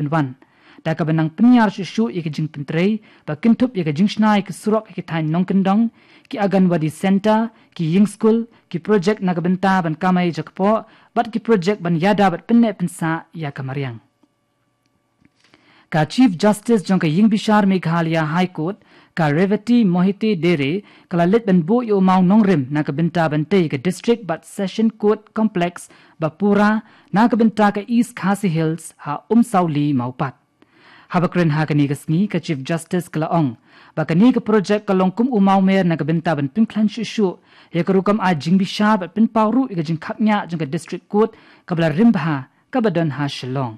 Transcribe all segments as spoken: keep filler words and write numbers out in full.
pynwan. Da kaba nang pynïar shuh shuh ïa ka jingpyntrei ba kynthup ïa ka jingshna ïa ki surok ha ki thaiñ nongkyndong, ki Anganwadi Centre, ki ïing skul, ki projek na ka bynta ban kamai jakpoh, bad ki projek ban ïada bad pynneh pynsah ïa ka mariang. Ka Chief Justice jong ka ïing bishar Meghalaya High Court, ka Revati Mohite Dere, ka la leit ban buh ïa u maw nongrim na ka bynta ban tei ka District bad Session Court Complex ba pura na ka bynta ka East Khasi Hills ha Umsawli Mawpat. Haba kren ha kane ka sngi, ka Chief Justice ka la ong ba kane ka projek ka long kum u mawmer na ka bynta ban pynkhlaiñ shuh shuh ïa ka rukom ai jingbishar bad pynpaw ruh ïa ka jingkhapngiah jong ka District Court kaba la rim bha kaba don ha Shillong.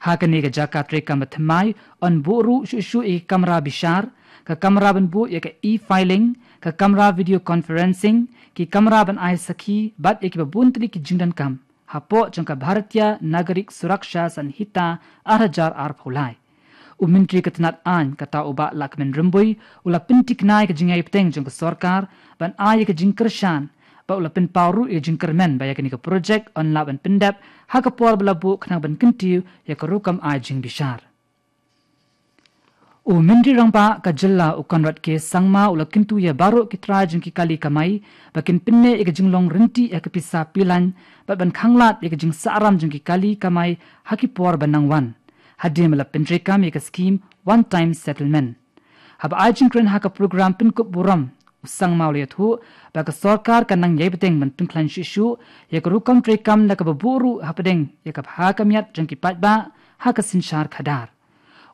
Ha kane ka jaka treikam ba thymmai yn buh ruh shuh shuh ïa ka kamra bishar, ka kamra ban buh ïa ka e-filing, ka kamra video conferencing, ki kamra ban ai sakhi bad ïa kiba bun tylli ki jingdonkam hapoh jong ka Bharatiya Nagarik Suraksha Sanhita ar hajar arphew lai. U Myntri ka tnat aiñ, kata u Bah Lahkmen Rymbui, u la pyntikna ïa ka jingïaibteng jong ka sorkar ban ai ïa ka jingkyrshan, bad u la pynpaw ruh ïa ka jingkyrmen ba ïa kane ka projek yn lah ban pyndep ha ka por ba la buh khnang ban kyntiew ïa ka rukom ai jingbishar. U Myntri Rangbah ka jylla u Conrad K Sangma u la kyntu ïa baroh ki trai jong ki kali kamai ba kin pynneh ïa ka jinglong ryntih ïa ka pisa pilaiñ bad ban khanglad ïa ka jingsahram jong ki kali kamai ha ki por ba nang wan, hadien ba la pyntreikam ïa ka skhim One Time Settlement. Haba ai jingkren ha ka program pynkup burom, u Sangma u la ïathuh ba ka sorkar ka nang ïaibteng ban pynkhlaiñ shuh shuh ïa ka rukom treikam da kaba buh ruh hapdeng ïa ka bha ka miat jong ki paidbah ha ka synshar khadar.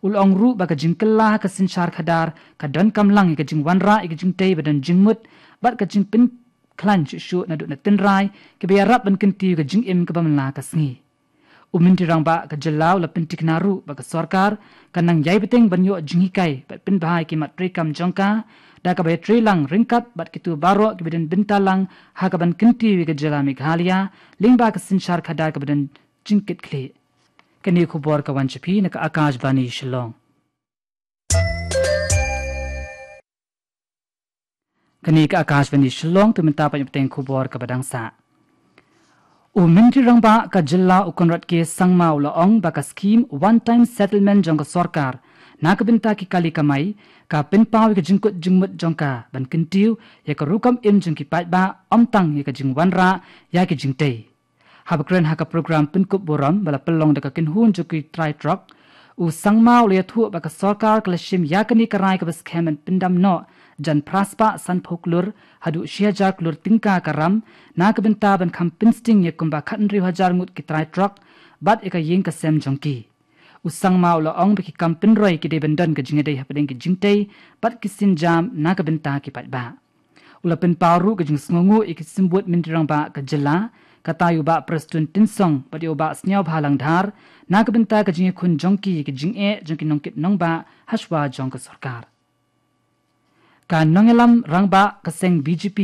U la ong ruh ba ka jingkylla ha ka synshar khadar ka donkam lang ïa ka jingwanrah ïa ka jingtei ba don jingmut bad ka jingpynkhlaiñ shuh shuh naduh na tynrai kiba ïarap ban kyntiew ïa ka jingim kaba man la ka sngi. U Myntri Rangbah ka jylla u la pyntikna ruh ba ka sorkar ka nang ïaibteng ban ïoh jinghikai bad pynbha ïa ki mat treikam jong ka, da kaba ïatrei lang ryngkat bad kito baroh kiba don bynta lang ha kaban kyntiew ïa ka jylla Meghalaya lyngba ka synshar khadar kaba don jingkitkhlieh. Kane ka khubor ka wan sha phi na ka Akashvani Shillong. Kane ka Akashvani Shillong, to mynta pat ïa ka bteng khubor kaba dang sah. U Myntri Rangbah ka jylla u Conrad K Sangma u la ong ba ka skhim One Time Settlement jong ka sorkar na ka bynta ki kali kamai ka pynpaw ïa ka jingkut jingmut jong ka ban kyntiew ïa ka rukom im jong ki paidbah, ym tang ïa ka jingwanrah ïa ki jingtei. Haba kren ha ka program pynkup burom ba la pynlong da ka kynhun jong ki trai trok, u Sangma u la ïathuh ba ka sorkar ka la shim ïa kane ka rai kaba skhem ban pyndam noh jan phra spah sanphew klur haduh shi hajar klur tyngka ka ram na ka bynta ban kham pynsting ïa kumba khathynriew hajar ngut ki trai trok bad ïa ka ïing ka sem jong ki. U Sangma u la ong ba ki kam pynroi ki dei ban don ka jingïadei hapdeng ki jingtei bad ki sienjam na ka bynta ki paidbah. U la pynpaw ruh ka jingsngewnguh ïa ki symbud Myntri Rangbah ka jylla, kata ïa u Bah Prestone Tynsong bad ïa u Bah Sniawbhalang Dhar, na ka bynta ka jingïakhun jong ki ïa ka jingeh jong ki nongkit nongbah hashwa jong ka sorkar. Ka nongïalam rangbah ka seng B J P,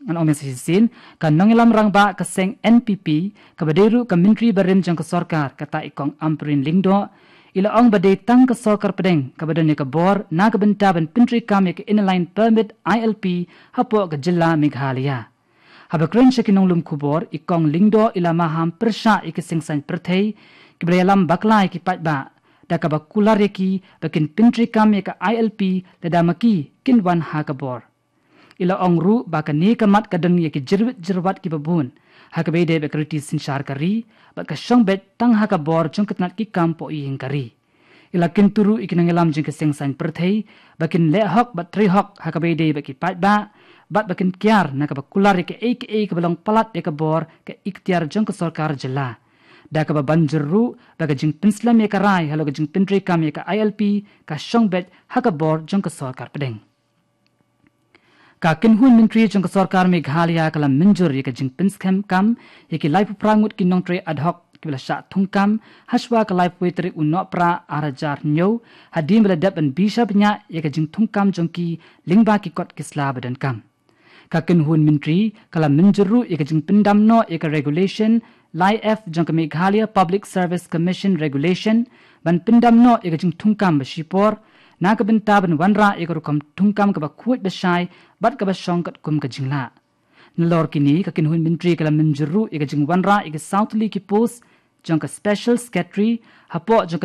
ngan ong mynshisien, ka nongïalam rangbah ka seng N P P, kaba dei ruh ka Myntri barim jong ka sorkar, kata i Kong Ampareen Lyngdoh, i la ong ba dei tang ka sorkar pdeng kaba don ïa ka bor na ka bynta ban pyntreikam ïa ka Inner Line Permit, I L P, hapoh ka jylla Meghalaya. Haba kren sha ki nonglum khubor, i Kong Lyngdoh i la maham pyrshah ïa ki seng saiñ pyrthei kiba la ïalam bakla ïa ki paidbah, da kaba kular ïa ki ba kin pyntreikam ïa ka I L P lada ma ki kin wan ha ka bor. I la ong ruh ba kane ka mat ka don ïa ki jyrwit jyrwat kiba bun ha kaba ïadei bad ka riti synshar ka ri bad ka shong beit tang ha ka bor jong ka tnat ki kam poh ïing ka ri. I la kyntu ruh ïa ki nongïalam jong ki seng saiñ pyrthei ba kin leh hok bad trei hok ha kaba ïadei bad ki paidbah bad ba kin kiar na kaba kular ïa kaei kaei kaba long palat ïa ka bor, ka iktiar jong ka sorkar jylla. Da kaba ban jur ruh ba ka jingpynslem ïa ka rai halor ka jingpyntreikam ïa ka I L P ka shong beit ha ka bor jong ka sorkar pdeng. Ka kynhun myntri jong ka sorkar Meghalaya ka la mynjur ïa ka jingpynskhem kam ïa ki laiphew phra ngut ki nongtrei ad hoc kiba la shah thungkam hashwa ka laiphew tarik u Nohprah ar hajar hynñiew, hadien ba la dep ban bishar bniah ïa ka jingthungkam jong ki lyngba ki kot ki sla ba donkam. Ka kynhun myntri ka la mynjur ruh ïa ka jingpyndam noh ïa ka regulation lai F jong ka Meghalaya Public Service Commission Regulation, ban pyndam noh ïa ka jingthungkam ba shipor na ka bynta ban wanrah ïa ka rukom thungkam kaba khuid ba shai bad kaba shong katkum ka jinglah. Nalor kine, ka kynhun myntri ka la mynjur ruh ïa ka jingwanrah ïa ki saw tylli ki post jong ka Special Secretary hapoh jong ka